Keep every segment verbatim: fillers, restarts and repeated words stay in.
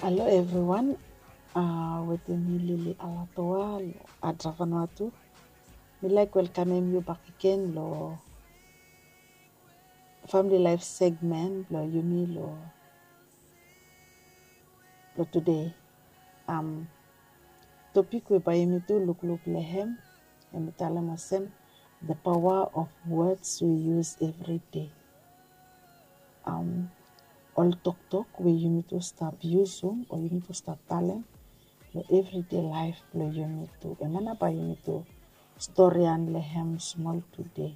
Hello everyone. Uh, wetem mi Lily Alatoa lo Adrafanua tu. Mi laik welkamem yu bakegen lo family life segment blo yumi lo, lo today. Um, topik we bae yumi tu lukluk lo hem, hemi talem olsem, the power of words we use every day. Um, ol toktok we yumi tu stap yusum o yumi tu stap talem lo everyday laef blo yumi tu. Hemia nao bae yumi tu storian lo hem smol today.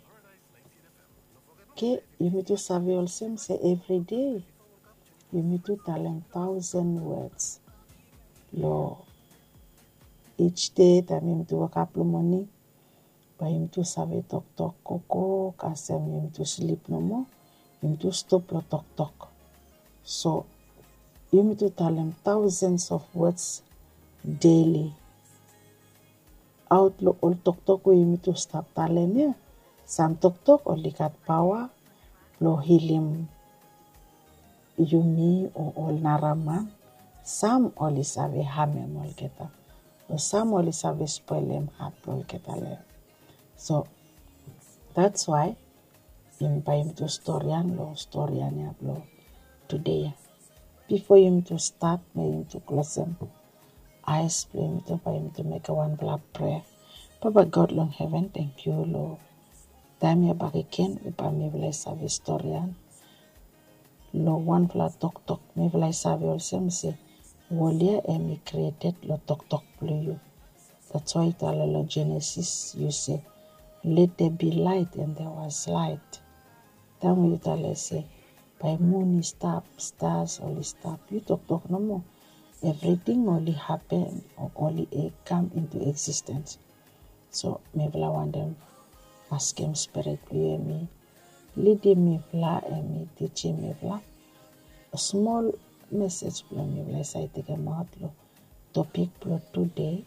Oke, yumi tu save olsem se everyday yumi tu talem thousand words. Lo each day taem yumi tu wokap lo moning, bae yumi tu save toktok gogo, kasem yumi tu slip nomo, yumi tu stop lo toktok. So yumi tu talem thousands of words daily. Aot lo ol toktok we yumi tu stap talem ia, sam toktok oli gat paoa blo hilim yumi o ol nara man. Sam oli save hamem olgeta, o sam oli save spolem hat blo olgeta lo hem. So that's why yumi bae yumi tu storian lo storian ia blo today ia. Bifo yumi tu stat, bae yumi tu klosem aes blo yumi tu, bae yumi tu mekem wanfala prea. Papa God long heven, tangkiu lo taem ia bakegen we bae mifala i save storian lo wanfala toktok. Mifala i save olsem se wol ia hemi created lo toktok blo yu. That's why i talem lo Genesis, yu se, let there be light, and there was light. Taem we yu talem se bae mun i stap, stars oli stap, yu toktok nomo, evriting oli hapen o oli kam into existence. So mifala wantem askem Spirit blo yu hemi lidim mifala, hemi tijim mifala. Smol mesej blo mifala i save tekemaot lo topik blo today,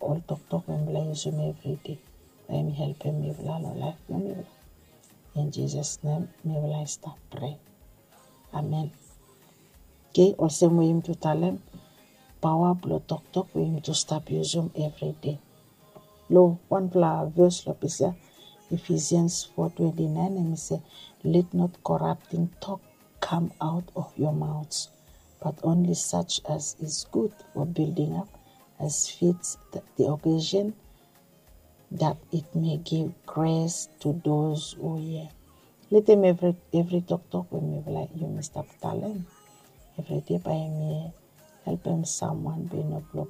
ol toktok we mifala i yusum evriday, bae hemi helpem mifala lo laef blo mifala. In Jesus' name mifala i stap prea. Amen. Oke, olsem we yumi tu talem, paoa blo toktok we yumi tu stap yusum evriday. Lo wanfala ves lo ples ia, Ephesians four twenty-nine, hemi se, let not corrupting talk come out of your mouths, but only such as is good for building up, as fits the, the occasion, that it may give grace to those who hear. Letem evri, evri toktok we mifala, yumi stap talem evriday bae hemi helpem samwan, be no blo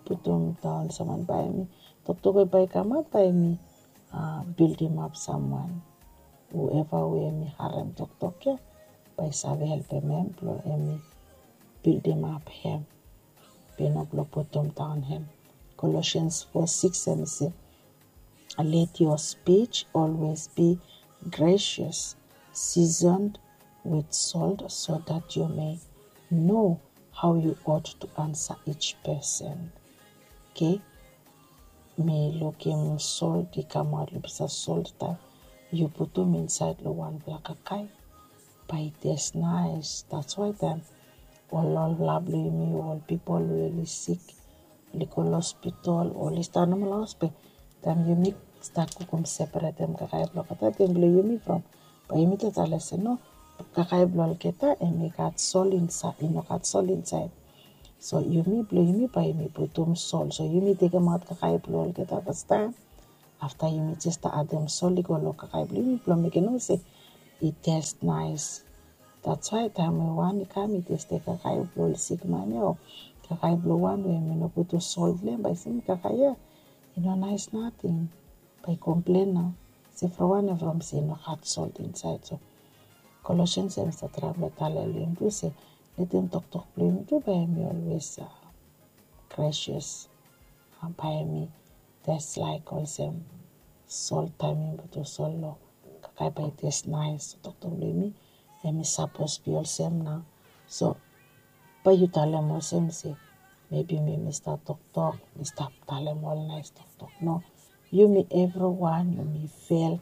putum daon samwan, bae hemi, toktok we bae i kamaot bae hemi, uh, building up samwan. Whoever we hemi harem toktok ia, bae i save helpem hem blo hemi building up hem, be no blo putum daon hem. Colossians four six, hemi se, let your speech always be gracious, seasoned with salt, so that you may know how you ought to answer each person. Oke, mi lukim sol i kamaot lo ples ia, sol taem yu putum insaed lo wanfala kakae, bae i tes naes. That's why taem ol, ol lav blo yumi, ol pipol we oli sik, oli go lo hospital, oli stap nomo lo haos, be taem yumi stap kukum, separetem kakae blo olgeta, taem blo yumi from, bae yumi tu talem se no, kakae blo olgeta hemi gat sol insaed, i no gat sol insaed. So yumi, blo yumi bae yumi putum sol. So yumi tekemaot kakae blo olgeta fastaem. Afta yumi jes stap adem sol i go lo kakae blo yumi blo mekem nomo se i tes naes. That's why taem we wan i kam i testem kakae blo ol sikman ia o kakae blo wan we hemi no putum sol lo hem, bae i se, mi, kakae ia i no naes nating. Bae i komplen nao se from wanem? From se i no gat sol insaed. So Colossians hemi stap traem blo talem lo yumi tu se letem toktok blo yumi tu bae hemi always, uh, gracious. Uh, bae hemi tes laek olsem sol, taem yumi putum sol lo kakae bae i tes naes. So toktok blo yumi hemi sapos be olsem nao. So bae yu talem olsem se, maybe mi, mi stap toktok, mi stap talem ol naes toktok. No, yumi evriwan yumi fel,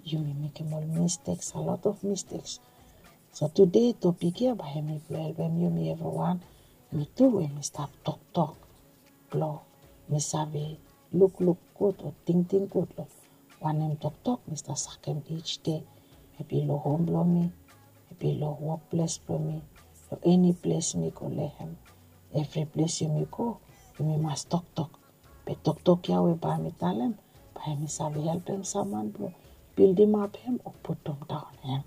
yumi mekem ol mistakes, a lot of mistakes. So tude topik ya bae hemi blong helpem yumi evriwan, mi tu we mi stap toktok blong mi save lukluk gud o tingting gud long wanem toktok mi stap sakem each dei. Mebi long hom blong mi, mebi long wokples blong mi, long eni ples mi go long hem. Evri ples yumi go yumi mas toktok. Be toktok ya we bae mi talem bae hemi save helpem samwan blong bildimap hem o putum daon hem.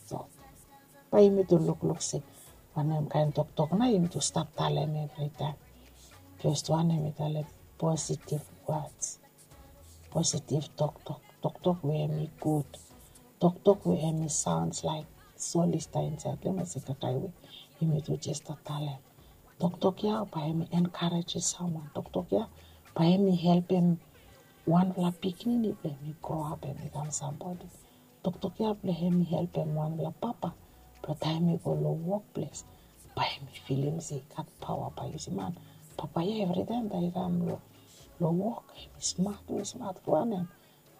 So bae yumi tu lukluk se wanem kaen toktok nao yumi tu stap talem evritaem. Fes wan hemi talem positive words, positive toktok, toktok we hemi gud, toktok we hemi saons laek solista insaed long hem olsem kakae we yumi tu jes stap talem. Toktok ya bae hemi enkarejem samwan. Toktok ya bae hemi helpem wanfala pikinini blong hemi groap hemi kam sambodi. Toktok ya blong hemi helpem wanfala papa blong taem i go long wokples bae hemi filim se i gat paoa bae yu si man, papa ya evritaem taem i kam long wok hemi smat we smat wanem.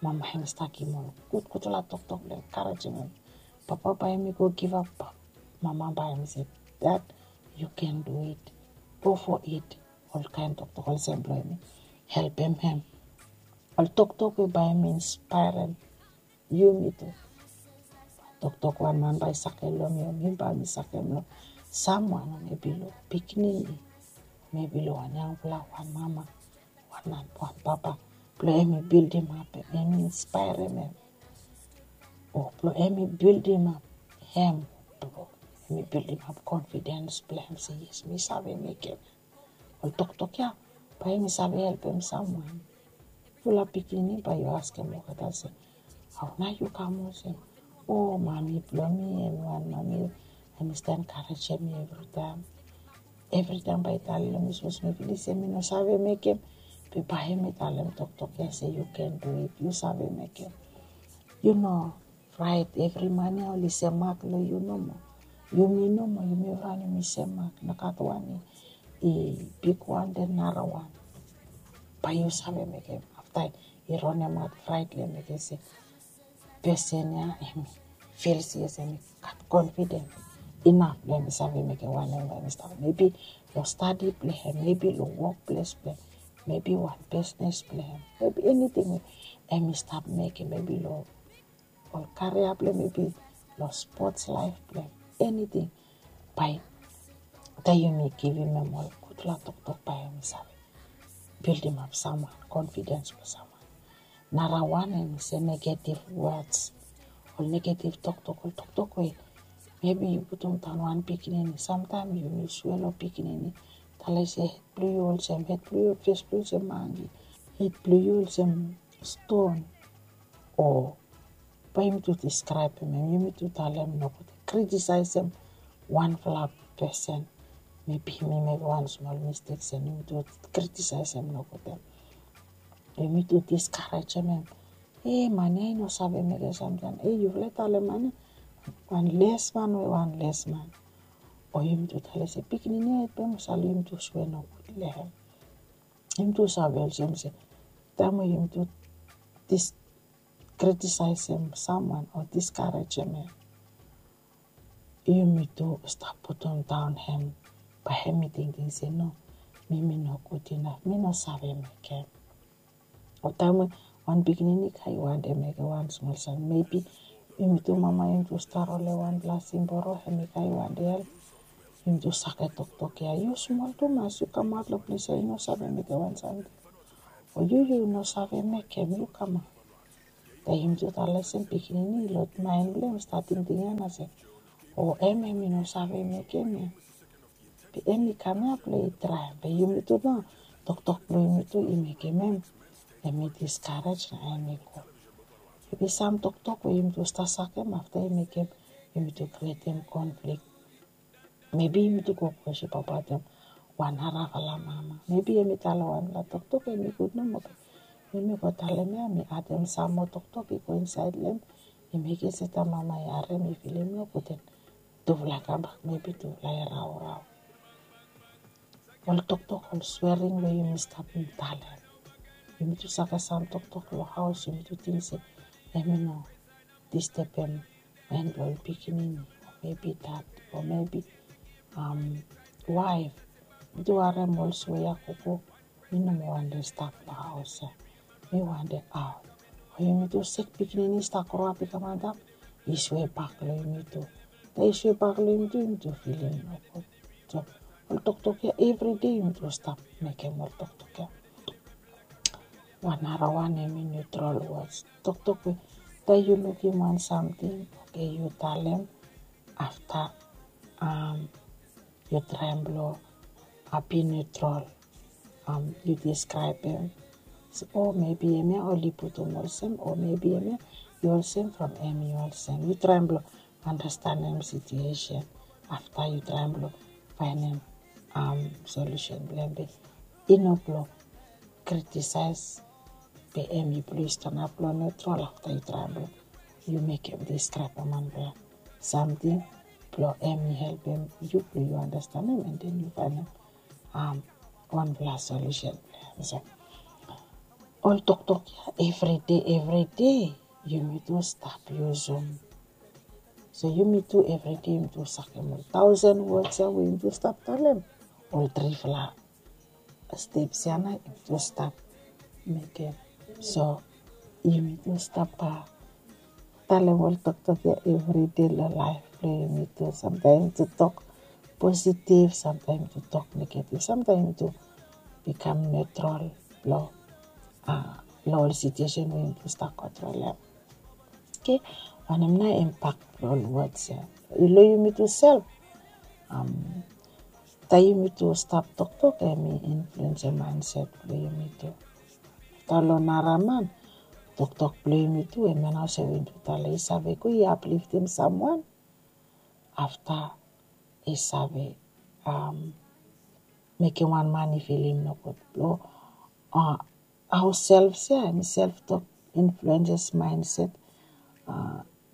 Mama hemi stap givim ol gudgudfala toktok blong enkarejem hem. Papa bae hemi go givap, mama bae hemi se, dad, you can do it, go for it. Ol kaen toktok olsem blong hemi helpem hem. Ol toktok we bae hemi inspaerem yumi tu. Toktok wan man bae sake long mi o mi bae mi sakem long samwan o mebi long pikinini, mebi long wan yangfala wan mama, wan papa blong hemi bildimap hem, hemi inspaerem hem, o blong hemi bildimap hem, blong hemi bildimap konfidens blong hem se yes mi save mekem. Ol toktok ya bae hemi save helpem samwan. Yufala pikinini bae yu askem olgeta se, hao nao yu kam olsem? O mami blong mi hemi wan mami hemi stap enkarejem mi evritaem. Evritaem bae i talem long mi sapos mi filim se mi no save mekem, be bae hemi talem toktok ya se you can do it, yu save mekem. Yu no fraet, evri man ya oli semak long yu nomo. Yumi nomo, yumi evriwan yumi semak, nogat wan i bigwan den narawan. Bae yu save mekem. Afta i ronemaot fraet long hem i se pesen ya hemi fil se yes hemi gat konfidens inaf blong hemi save mekem wanem we hemi stap. Mebi long stadi blong hem, mebi long wokples blong hem, mebi wan bisnes blong hem, mebi eniting we hemi stap mekem, mebi long ol karia blong hem, mebi long spots laef blong hem, eniting. Bae taem yumi givim hem ol gudfala toktok bae hemi save bildimap samwan, konfidens blong samwan. Narawan hemi se negative words, ol negative toktok, ol toktok we mebi yu putum daon wan pikinini, samtaem yumi swe long pikinini, talem se hed blong yu olsem, hed blong yu fes blong yu olsem mangi, hed blong yu olsem ston. O bae yumi tu diskraebem hem, yumi tu talem nogud, kritisaesem wanfala pesen. Mebi hemi mekem wan smol mistek se yumi tu kritisaesem nogud hem. Yumi tu diskarejem hem. E man ya i no save mekem samting. E yufala i talem man ya wan lesman we wan lesman. O yumi tu talem se pikinini ya i pem sal, yumi tu swe nogud long hem. Yumi tu save olsem se taem we yumi tu dis kritisaesem samwan o diskarejem hem, yumi tu stap putum daon hem. Bae hemi tingting se no, mi mi no gud inaf, mi no save mekem. O taem we wan pikinini kam i wantem mekem wan smol samting, mebi yumi tu mama yumi tu stap rolem wanfala simboro, hemi kam i wantem help. Yumi tu sake toktok ya, yu smol tumas, yu kamaot long ples ya, yu no save mekem wan samting. O yu, yu no save mekem, yu kamaot. Be yumi tu talem olsem pikinini long maen blong hem i stap tingting ya nao se, o hem, hemi no save mekem ya. Be hemi kam ya blong i traem. Be yumi tu nao, toktok blong yumi tu i mekem hem, hemi diskarej nao hemi go. Hemi sam toktok we yumi tu stap sakem afta i mekem yumi tu krietem konflik. Mebi yumi tu go kwestin abaot hem wan narafala mama. Mebi hemi talem wanfala toktok hemi gud nomo, be yumi go talem ya, hemi adem sam moa toktok i go insaed long hem. I mekem se taem mama i harem i filim nogud, den tufala i kambak, mebi tufala i raorao. Ol toktok, ol swering we yumi stap talem. Yumi tu sake sam toktok long haos, yumi tu ting se hemi no distebem maen blong ol pikinini. maybe dad, o maybe um, waef. Yumitu harem ol swe ya kukuk, mi no moa wante stap long haos ya. Mi wante aot. O yumitu sek pikinini i stap groap i kam antap, i swe bak long yumitu. Taem i swe bak long yumitu, yumitu filim nogud. So ol toktok ya evridae yumitu stap mekem ol toktok ya. Wan narawan hemi neutral words. Toktok we taem yu lukim wan samting, oke, yu talem afta yu traem blong be neutral. Yu deskraebem, o maybe hemia oli putum olsem, o maybe hemia yu olsem from hemi olsem. Yu traem blong andastanem situesen afta yu traem blong faenem solusen blong hem. Be i no blong kritisaes, be hemi blong yu stanap long neutral afta yu traem blong yu mekem deskraebem wanpela samting blong hemi helpem yu blong yu andastanem, and then yu faenem wanpela solusen blong hem. So ol toktok ya evridae, evridae yumitu stap yusum. So yumitu evridae yumitu sakem ol taosen wods ya we yumitu stap talem. Ol trifala steps ya nao yumitu stap mekem. So yumitu stap talem ol toktok ya evridae long laef blong yumitu. Samtaem yumitu tok positif, samtaem yumitu tok negatif, samtaem yumitu bikam neutral long long ol situesen we yumitu stap kontrolem. Oke, wanem nao impak blong ol wods ya long yumitu sef? Taem yumitu stap toktok, hemi influensem maenset blong yumitu. Afta long naraman, toktok blong yumitu, hemia nao olsem we yumitu talem, i save go i apliftem samwan. Afta i save mekem wan man i filim nogud. Blong hao self ya, hemi self tok influenses maenset.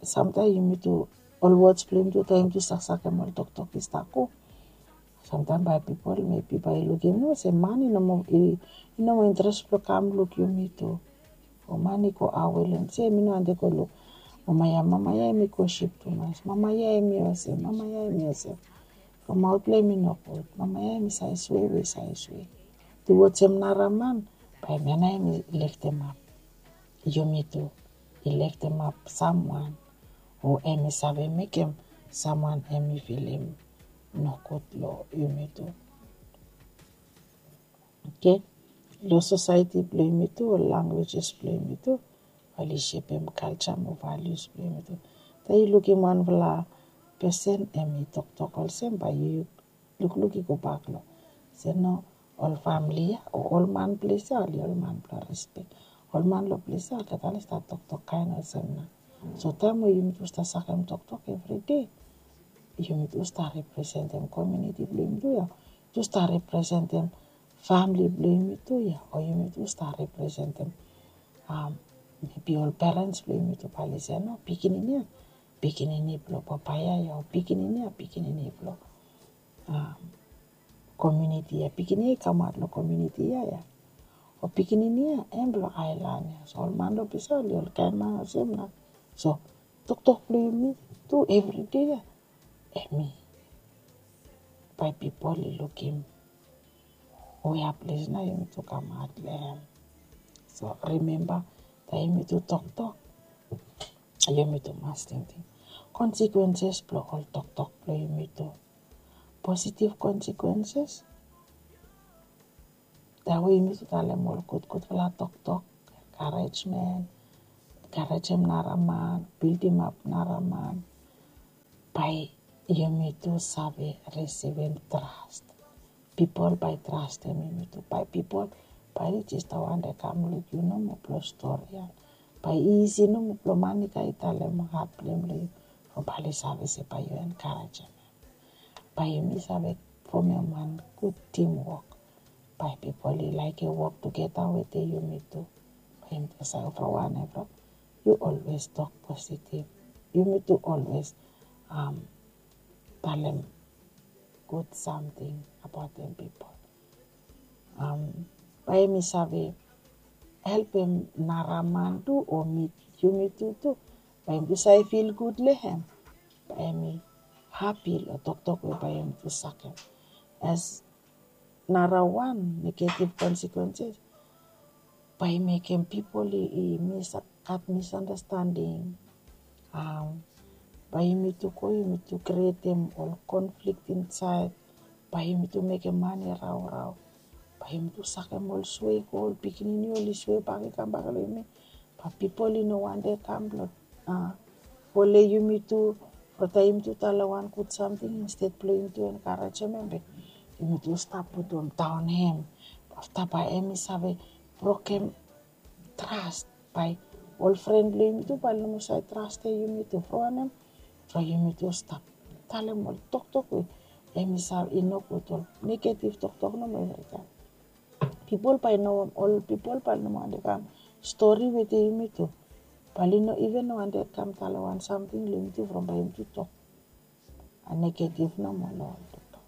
Samtaem yumitu, ol wods blong yumitu, taem yumitu saksakem ol toktok i stap go, samtaem bae pipol maybe bae i lukim olsem man i no moa interes blong kam luk yumitu. O man i go awe long se mi no wante go luk. Mama ya, mama ya hemi gosip tumas. Mama ya hemi olsem, mama ya hemi olsem. From maot blong hem i nogud. Mama ya hemi save swe we i save swe. Tuwod hem naraman, bae hemia nao hemi leftemap yumitu, i leftemap samwan, o hemi save mekem samwan hemi filim nogud long yumitu. Oke, long sosaeti blong yumitu, ol langwejes blong yumitu, oli sepem kalja mo valius blong yumitu. Taem yu lukim wanfala pesen hemi toktok olsem, bae yu lukluk i gobak long se no, ol famili ya o ol man ples ya oli ol man blong respek. Ol man long ples ya olgeta oli stap toktok kaen olsem nao. So taem we yumitu stap sakem toktok evridae, yumitu stap representem komuniti blong yumitu ya. Yumitu stap representem famili blong yumitu ya, o yumitu stap representem maybe ol perens blong yumitu, bae oli se no, pikinini ya pikinini blong papa ya ya, o pikinini ya pikinini blong komuniti ya, pikinini ya i kamaot long komuniti ya ya, o pikinini ya hem blong aelan ya. So ol man long ples ya oli olkaen man olsem nao. So toktok blong yumitu evridae ya, hemi bae pipol i lukim wea ples nao yumitu kamaot long hem. So rimemba, taem yumitu toktok, yumitu mas tingting konsekwenses blong ol toktok blong yumitu. Positiv konsekwenses, taem we yumitu talem ol gudgudfala toktok, enkarejmen, enkarejem naraman, bildimap naraman, bae yumitu save risivim tras. Pipol bae trastem yumitu. Bae pipol bae oli jes wante kam luk yu nomo blong stori ya. Bae i isi nomo blong man i kam i talem hat blong hem long yu, o bae oli save se bae yu enkarejem hem. Bae yumi save fomem wan gud timwok. Bae pipol i laekem wok tugeta wetem yumitu. Bae yumi save wan evriwan. Yu olwes tok positiv. Yumitu olwes talem gud samting abaotem pipol. Bae yumi save helpem naraman tu o mi, yumitu tu. Bae yumi tu save fil gud long hem. Bae yumi hapi long toktok we bae yumi tu sakem. As nara wan negative consequences, bae i mekem pipol i, i mis-, gat misunderstanding. Am, bae yumi tu go, yumi tu krietem ol conflict insaed. Bae yumi tu mekem man i raorao. Bae yumi tu sakem ol swe i go, ol pikinini oli swe bak i kambak long yumi. Bae pipol i no wantem kam blong, a, folem yumi tu, from taem yumi tu talem wan gud samting, instead blong yumi tu enkarejem hem, be yumi tu stap putum daon hem. Afta bae hem i save brokem tras, bae ol fren blong yumi tu bae oli no moa save trastem yumi tu. From wanem? From yumi tu stap talem ol toktok we hem i save, i nogud, ol negative toktok nomo evritaem. Pipol bae no, ol pipol bae oli no wantem kam stori wetem yumi tu. Bae oli no iven wantem kam talem wan samting long yumi tu from bae yumi tu tok. A negative nomo long ol toktok.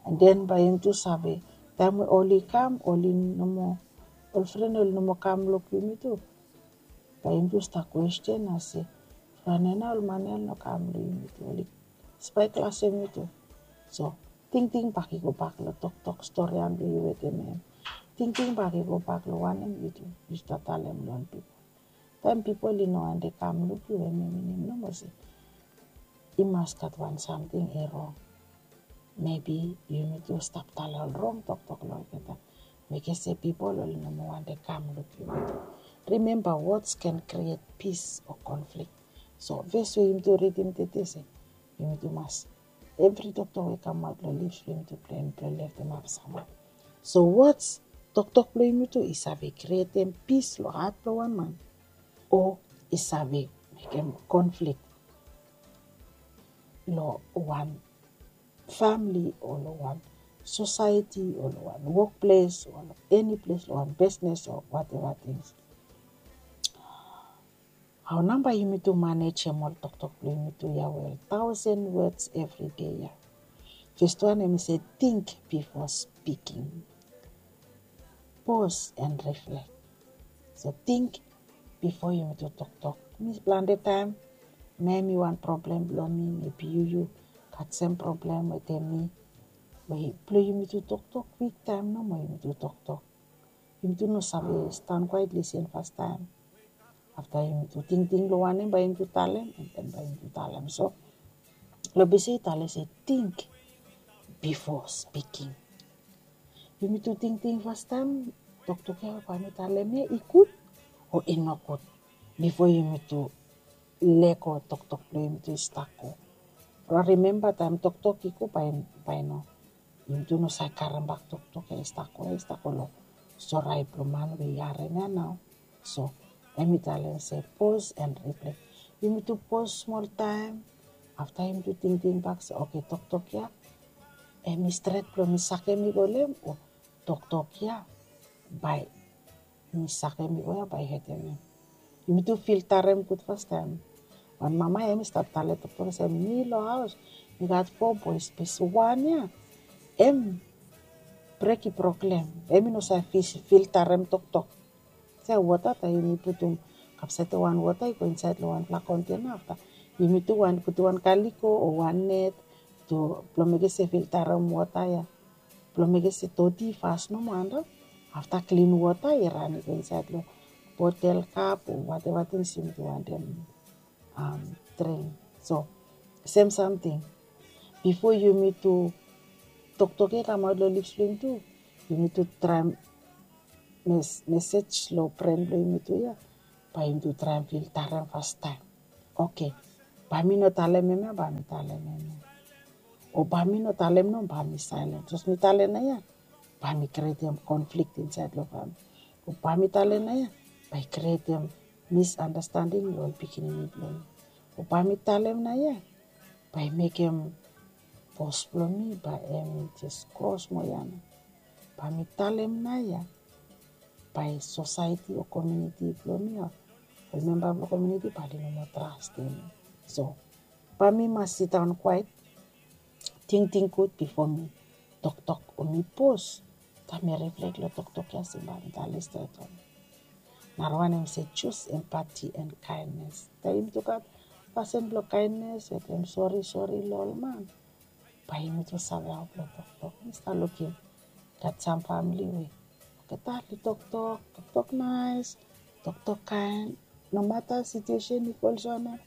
And then bae yumi tu save, taem we oli kam, oli no moa, ol fren oli no moa kam luk yumi tu. Bae yumi tu stap kwesten olsem, from wanem nao ol man ya oli no kam long yumi tu, oli spy class yumi tu. So tingting bak i go bak long toktok storian blong yu wetem hem. Tingting bak i go bak long wanem yu tu, yu stap talem long ol pipol. Taem pipol i no wantem kam luk yu, hemi minim nomo se i mas gat wan samting i rong. Maybe yumi tu stap talem ol rong toktok long olgeta, mekem se pipol oli no moa wantem kam luk yumi tu. Remember, words can create peace or conflict. So ves we yumi tu ridim tede se yumi tu mas, evri toktok we i kamaot long lips blong yumi tu, blong yumi tu leftemap samwan. So words, toktok blong yumi tu i save krietem pis long hat blong wan man, o i save mekem conflict long wan famili, o long wan society, o long wan wokples, o long eni ples, long wan bisnes o whatever things. Hao nao bae yumi tu manejem ol toktok blong yumi tu ya well? Thousand words every day ya. First wan hemi se, think before speaking. Pause and reflect. So think before yumi tu toktok. Mi plante taem, maybe wan problem blong mi, maybe yu, yu gat sem problem wetem mi. We blong yumi tu toktok, kwik taem nomo yumi tu toktok. Yumi tu no save stan kwaet, lisen fastaem. Afta yumi tu tingting long wanem bae yumi tu talem, and then bae yumi tu talem. So long bese i talem se think before speaking. Yumi tu tingting fastaem, toktok ya bae mi talem ya i gud o i nogud, bifo yumi tu lego toktok blong yumi tu i stap go. Remember, taem toktok i go, bae, bae no, yumi tu no save karem bak toktok ya i stap go, ya i stap go long storae blong man we i harem ya nao. So hemi talem se pause and reflect. Yumi tu pause smol taem, afta yumi tu tingting bak se, okay, toktok ya hemi stret blong mi sakem i go long hem, o toktok ya bae mi sakem i go ya bae i hetem hem? Yumi tu filtarem gud fastaem. Wan mama hemi stap talem toktok se, mi long haos mi gat fo boes, be wan ya hem brek i proklem, hemi no save filtarem toktok. Se wota, taem yumi putum kapsait wan wota i go insaed long wanfala kontena, afta yumi tu wan putum wan kaliko o wan net tu blong mekem se filtarem wota ya, blong mekem se doti i fas nomo antap. Afta klin wota i ran i go insaed long botel, kap o whatever things yumi tu wantem dring. So sem samting, bifo yumi tu toktok ya i kamaot long lips blong yumi tu, yumi tu traem mes-, mesej long bren blong yumi tu ya, bae yumi tu traem filtarem fastaem. Okay, bae mi no talem hemia, bae mi talem hemia. O bae mi no talem nomo, bae mi saelen. Sapos mi talem naoia, bae mi krietem konflik insaed long famili. O bae mi talem naoia, bae i krietem misunderstanding long ol pikinini blong mi. O bae mi talem naoia, bae i mekem bos blong mi bae hemi jes kros moa ia nao. Bae mi talem naoia, bae sosaeti o komuniti blong mi, o ol memba blong komuniti bae oli no moa trastem mi. So bae mi mas sidaon kwaet, tingting gud bifo mi toktok o mi pos. Taem mi riflek long toktok ia, se bae mi talem stret o no. Narawan hemi se, choose empathy and kindness. Taem yumi tu gat pasin blong kaennes wetem sori sori long ol man. Bae yumitu save hao blong toktok. Mi stap lukim gat sam famili we olgeta oli toktok, toktok naes, toktok kaen. Nomata situesen i go olsem wanem,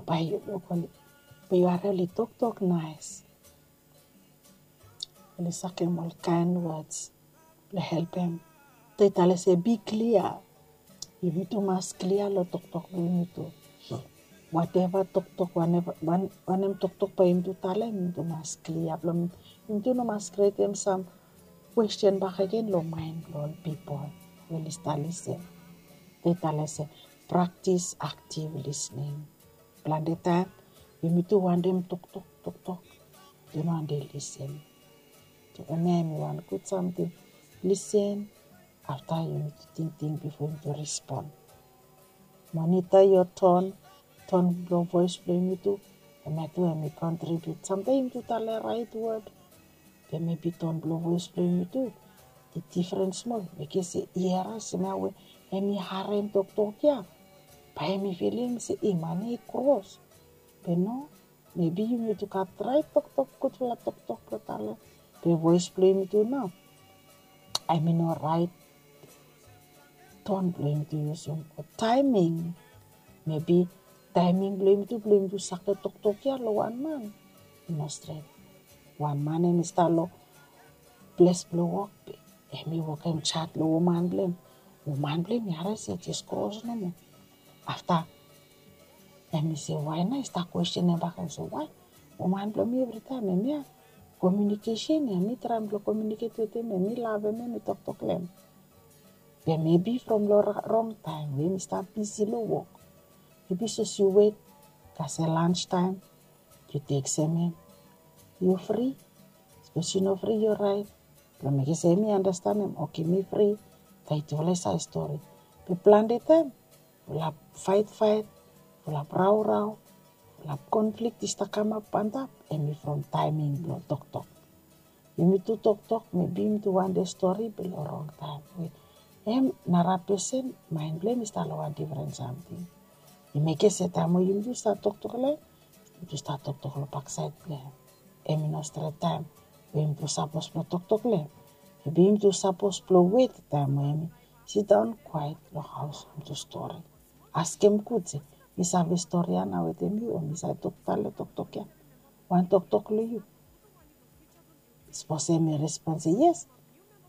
bae yu luk oli, bae yu harem oli toktok naes. Oli sakem ol kaen wods blong helpem. Tae i talem se bi klia. Yumitu mas klia long toktok blong yumitu. Wateva toktok, wanem toktok bae yumitu talem, yumitu mas klia blong yumitu no mas krietem sam kwesten bakegen long maen blong ol pipol we oli stap lisen. Tae i talem se praktis aktiv lisning. Plante taem yumitu wantem toktok, toktok, yu no wantem lisen. So hemia hemi wan gud samting. Lisen, afta yumitu tingting bifo yumitu respon. Monita yo ton, ton blong voes blong yumitu, hemia tu hemi kontribiut. Samtaem yumitu talem raet wod, be mebi ton blong voes blong yumitu i difren smol. Mekem se i harem se hemia we hemi harem toktok ya, bae hemi filim se i man ya i kros. Be no, mebi yumitu gat raet toktok, gudfala toktok blong talem. Be voes blong yumitu nao hemi no raet, ton blong yumitu yusum o taeming. Mebi taeming blong yumitu, blong yumitu save toktok ya long wan man, i no stret. Wan man hemi stap long ples blong wok, be hemi wokem jat long woman blong hem. Woman blong hem i harem se i jes kros nomo. Afta hemi se wae nao, i stap kwestenem bak, hemi se wae? Woman blong mi evritaem hemia komiunikesen ya, mi traem blong komiuniket wetem hem, mi lavem hem, mi toktok long hem. Be mebi from long rong taem we hemi stap bisi long wok, mebi sapos yu wet kasem lans taem, yu tekstem hem, yu fri? Sapos yu no fri, yu raet. Blong mekem se hemi andastanem, oke, mi fri. Tae tufala i save stori. Be plante taem fulap faet faet, fulap raorao, fulap konflik i stap kamap antap, hemi from taeming blong toktok. Yumitu toktok, mebi yumitu wantem stori be long rong taem we hem nara pesen maen blong hem i stap long wan difren samting. I mekem se taem we yumitu stap toktok long hem, yumitu stap toktok long baksaed blong hem. Hemi no stret taem we yumitu sapos blong toktok long hem. Mebi yumitu sapos blong wet taem we hemi sidaon kwaet long haos, yumitu stori. Askem gud se, mi save stori ya nao wetem yu, o mi save tok, talem toktok ya, wan toktok long yu? Sapos hemi respon se yes,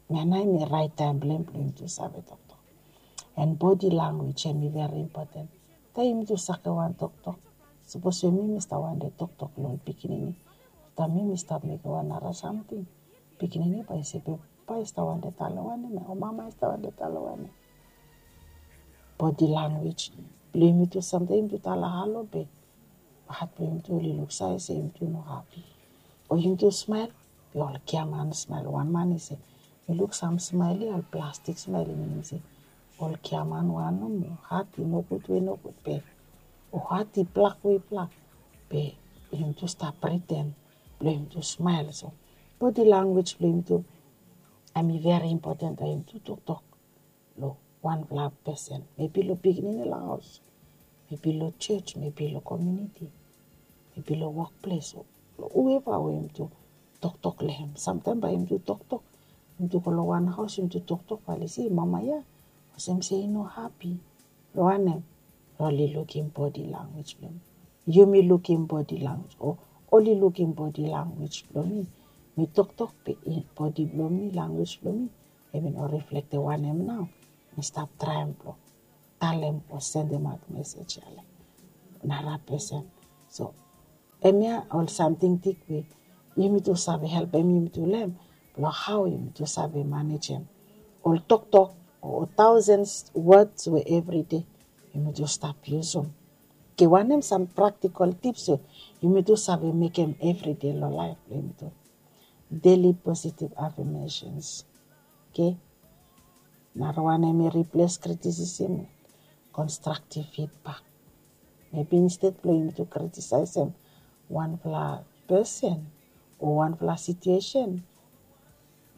hemia nao hemi raet taem blong hem blong yumitu save toktok. And bodi lanwis hemi veri impoten. Taem yumitu sakem wan toktok, sapos we mi, mi stap wantem toktok long ol pikinini, afta mi, mi stap mekem wan nara samting, pikinini bae i se, be papa i stap wantem talem wanem ya, o mama i stap wantem talem wanem ya? Bodi lanwis blong yumitu, samtaem yumitu talem halo be hat blong yumitu oli luksave se yumitu no hapi. O yumitu smael, be ol giaman smael. Wan man i se, mi luk sam smael ya, ol plastik smael, i minim se ol giaman wan nomo, hat i nogud we i nogud, be o hat i blak we i blak. Be yumitu stap priten blong yumitu smael. So bodi lanwis blong yumitu hemi veri impoten taem yumitu toktok long wanfala pesen, mebi long pikinini long haos, mebi long jos, mebi long komuniti, mebi long wokples, o long hueva we yumitu toktok long hem. Samtaem bae yumitu toktok, yumitu go long wan haos, yumitu toktok, bae oli se mama ya olsem se i no hapi. Long wanem? Oli lukim bodi lanwis blong mi. Yumi lukim bodi lanwis, o oli lukim bodi lanwis blong mi. Mi toktok be bodi blong mi, lanwis blong mi, hemi no riflektem wanem nao mi stap traem blong talem o sendemaot mesej ya long nara pesen. So hemia ol samting tik we yumitu save helpem yumitu long hem, blong hao yumitu save manejem ol toktok o taosens wods we evride yumitu stap yusum. Oke, wanem sam praktikol tips we yumitu save mekem evride long laef blong yumitu? Deli positiv afamesens. Oke. Nara wan hemi riples kritisism, konstraktiv fidbak. Mebi insted blong yumitu kritisaesem wanfala pesen o wanfala situesen,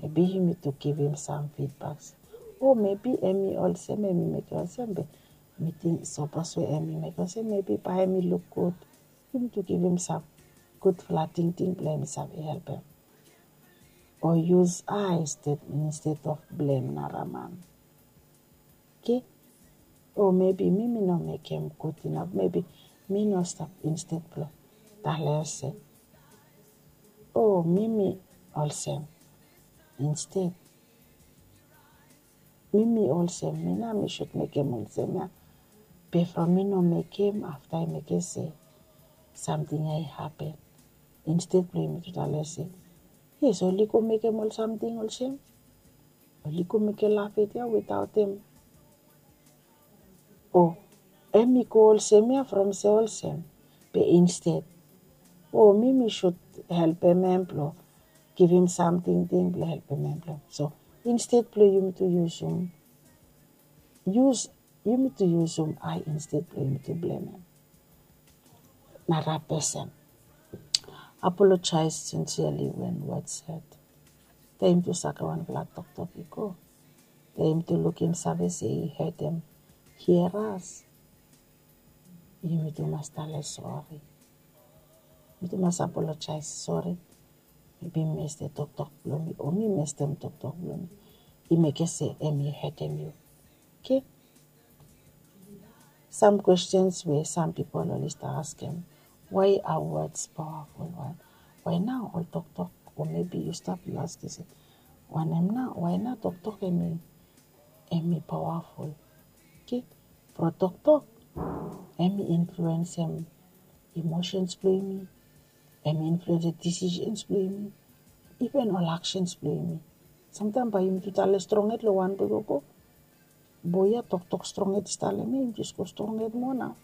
mebi yumitu givim sam fidbaks. O mebi hemi olsem, hemi mekem olsem, be Mi ting sapos we em i mekem olsem, mebi bae em i luk gud. Yumi tu givim sam gudfala tingting blong em i save helpem. O yus ai instead of blem nara man. Oke? O mebi mi mi no mekem gud inaf, mebi mi no stap, instead blong tale olsem, o mi mi olsem, instead mi mi olsem, mi nao mi sud mekem olsem ya. Be from mi no mekem, afta i mekem se samting ya i hapen. Instead blong yumi tu tale se, yes, oli go mekem ol samting olsem. Oli go mekem lafet ya without em. O em i go olsem ya from se olsem. Be instead, o mi mi sud helpem em blong givim samting ting blong helpem em blong. So instead blong yumi tu yusum, yus, yumi tu yusum ai instead blong yumi tu blem em. Nara pesen. Apologize sincerely when words hurt. Taem yumi tu sakem wanfala toktok i go, taem yumi tu lukim save se i hetem, hear us, yumi tu mas tale sori. Yumi tu mas apologize, sori. Mebi mi mestem toktok blong mi, o mi mestem toktok blong mi, i mekem se em i hetem yu. Oke? Sam questions we sam pipol oli stap askem, why are words powerful? Why, why nao ol toktok? O mebi yu stap yu askem se, wanem nao, why nao toktok em i, em i powerful? Oke? From toktok em i influensem emotions blong yumi, em i influensem decisions blong yumi, even ol actions blong yumi. Samtaem bae yumi tu tale strong hed long wan blo gogo. Boe ya toktok strong hed i stap long em, i jes go strong hed moa nao.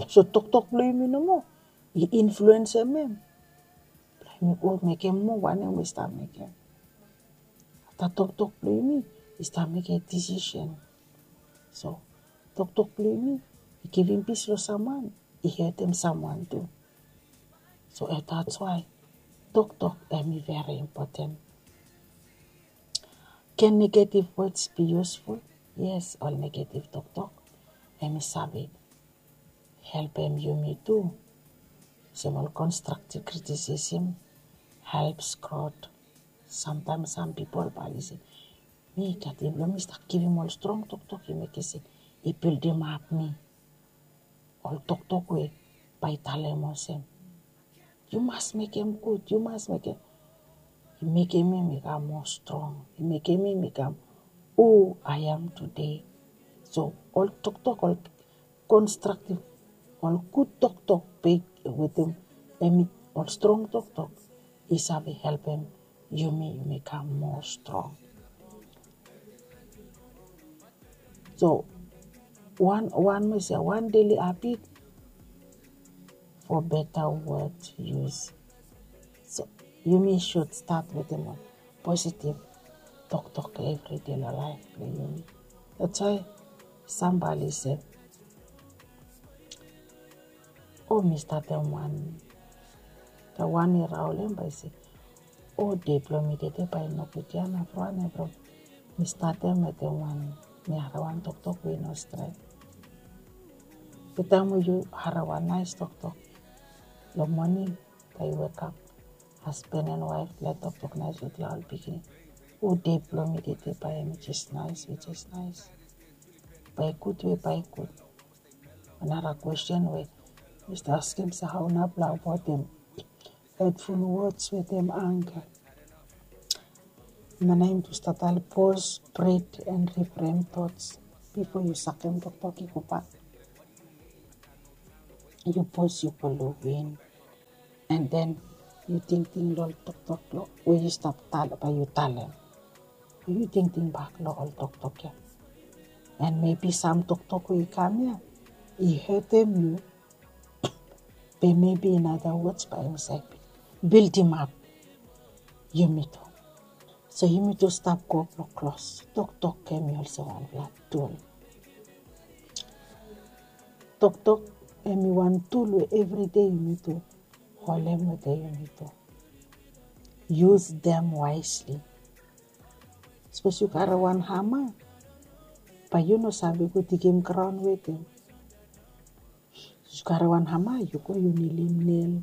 So toktok blong yumi nomo i influensem em. Blong yumi go mekem moa wanem we i stap mekem. Afta toktok blong yumi i stap mekem decision. So toktok blong yumi i givim pis long samwan, i hetem samwan tu. So that's why toktok em i very important. Can negative words be useful? Yes, ol negative toktok em i save helpem yumi tu. Olsem ol constructive criticism helps growth. Samtaem sam pipol bae oli se, mi gat, blong mi stap givim ol strong toktok, i mekem se i bildimap mi. Ol toktok we bae i talem olsem, yu mas mekem gud, yu mas mekem. I mekem mi mi kam moa strong, i mekem mi mi kam who I am today. So ol toktok, ol constructive, ol gud toktok, be wetem, em i ol strong toktok, i save helpem yumi, yumi kam moa strong. So wan, wan mi se wan daily habit for better word use. So yumi should start wetem ol positive toktok evri dei long laef blong yumi. That's why sam bae oli se, o mi statem wan, taem wan i raolem bae i se, o dei blong mi tede bae i nogud ya, na from wanem? From mi statem wetem wan, mi harem wan toktok we i no stret. Be taem we yu harem wan naes toktok long moning, taem yu wekap, hasban and waef, lae toktok naes wetem ol pikinini. O dei blong mi tede bae hemi jes naes, i jes naes. Bae gud we bae gud. Nara kwesten we mi stap askem se, hao nao blong avoedem hurtful words wetem anger? Hemia nao yumi tu stap talem, pause, breathe and reframe thoughts bifo yu sakem toktok i gobak. Yu pause, yu go long win. And then yu tingting long ol toktok we yu stap talem, bae yu talem. Yu tingting bak long ol toktok ya. And maybe sam toktok we i kam ya i hetem yu. Be maybe in other words, bae hemi save bildimap yumi tu. So yumi tu stap go blong klos. Toktok hemi olsem wanfala tul. Toktok hemi wan tul we evri dei yumi tu holem wetem yumi tu. Use them wisely. Sapos yu karem wan hama, Bae yu no save go digim graon wetem. Yu karem wan hama, yu go, yu nilim nel,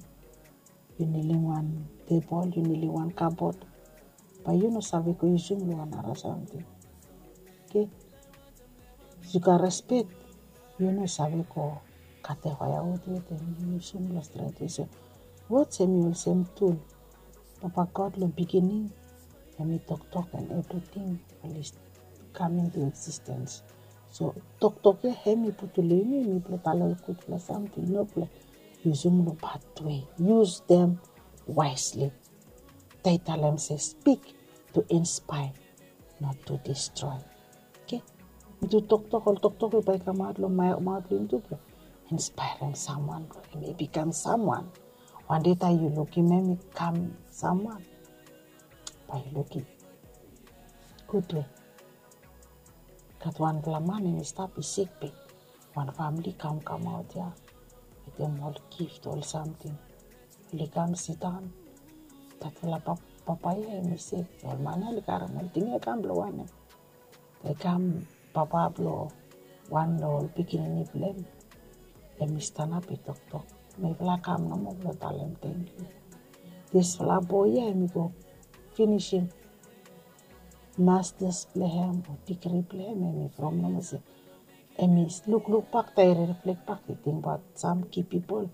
yu nilim wan tebol, yu nilim wan kabod. Bae yu no save go yusum long wan nara samting. Oke. Yu gat respek, yu no save go katem faeawud wetem, yu yusum long stret we. So wod hemi olsem tul. Papa God long beginning hemi toktok, and evriting oli kam into existence. So toktok ia hemi putum long yumi, hemi blong talem ol gudfala samting, no blong yusum long bad we. Use them wisely. They talem se, speak to inspire, not to destroy. Oke. Yumi tu toktok, ol toktok we bae i kamaot long maot blong yumi tu blong inspaerem samwan blong hem i bikam samwan. Wan dei taem yu lukim hem i kam samwan, bae yu lukim gud we. Gat wanfala man hemi stap, i sik, be wan famili kam kamaot ia wetem ol gift, ol samting. Oli kam sidaon. Datfala papa ia hemi se, ol man ia oli karem ol ting ia i kam blong wanem? I kam, papa blong wan long ol pikinini blong hem, hemi stanap i toktok. Mifala kam nomo blong talem tangkiu. Disfala boe ia hemi go finisim masters blong hem o digri blong hem, hemi from nomo se, hemi lukluk bak, taem i riflek bak, i tingbaot sam ki pipol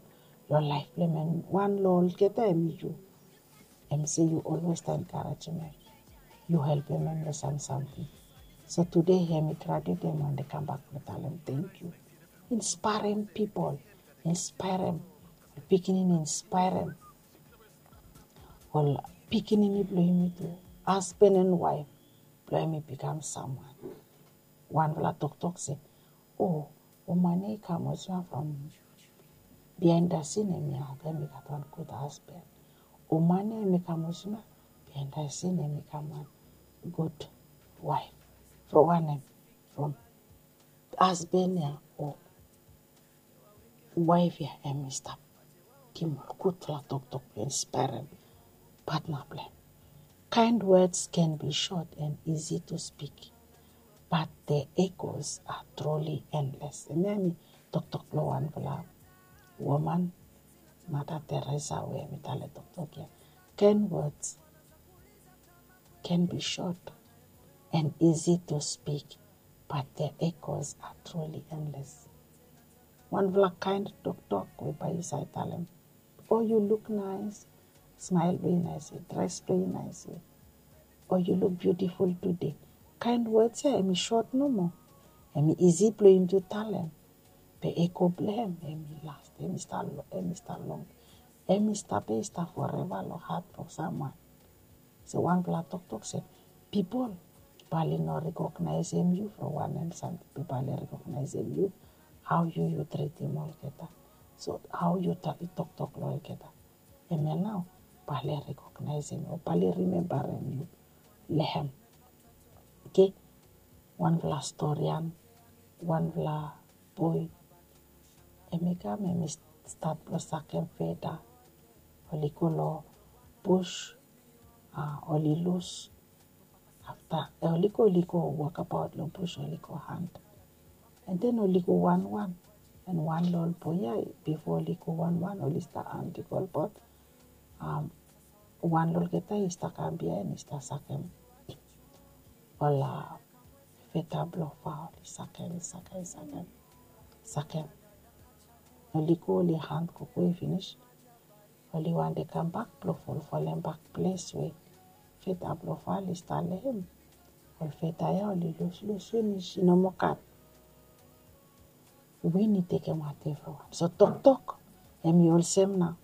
long laef blong hem, and wan long olgeta hemi yu. Hemi se yu olwes enkarejem hem, yu helpem hem long sam samting. So tude hemi graduate, hemi wante kambak blong talem tangkiu. Inspaerem pipol, inspaerem ol pikinini, inspaerem ol pikinini blong yumi tu, hasban and waef blong hem i bikam samwan. Wanfala toktok se, o, o man ia i kam olsem ia from behind the scene hemi, hemi gat wan gud hasban. O man ia hemi kam olsem ia, behind the scene hemi kam wan gud waef. From wanem? From hasban ia o waef ia hemi stap givim ol gudfala toktok blong inspaerem patna blong hem. Kind words can be short and easy to speak, but their echoes are truly endless. Hemia hemi toktok blong wanfala woman, Mother Teresa, we hemi talem toktok ia. Kind words can be short and easy to speak, but their echoes are truly endless. Wanfala kaen toktok we bae yu save talem, o, yu luk naes, smael blong yu naes, dres blong yu naes, o, yu luk biutiful tude. Kaen wod ia hemi sot nomo. Hemi isi blong yumi tu talem. Be eko blong hem hemi las, hemi stap long, hemi stap long, hemi stap, hemi stap foreva long hat blong samwan. So wanfala toktok se, pipol bae oli no rekognaesem yu from wanem samting, be bae oli rekognaesem yu hao yu yu tritim olgeta. So hao yu toktok long olgeta, hemia nao bae oli rekognaesem o bae oli rimembarem yu long hem. Oke, wanfala storian, wanfala boe, hemi kam, hemi stat blong sakem feda. Oli go long bus, a, oli lus. Afta, e, oli go, oli go wokabaot long bus, oli go hant. And then oli go wanwan. And wan long ol boe ia, bifo oli go wanwan, oli stap hant i go olbaot. Am, wan long olgeta i stap kam biaen, i stap sakem ol, a, feda blong fao, oli sakem, i sakem, i sakem, sakem. Oli go, oli hant gogo i finis. Oli wantem kambak blong folfolem bak ples we feda blong fao oli stap long hem. Ol feda ia oli luslus finis, i no moa gat. Win i tekem whatever wan. So toktok hemi olsem nao.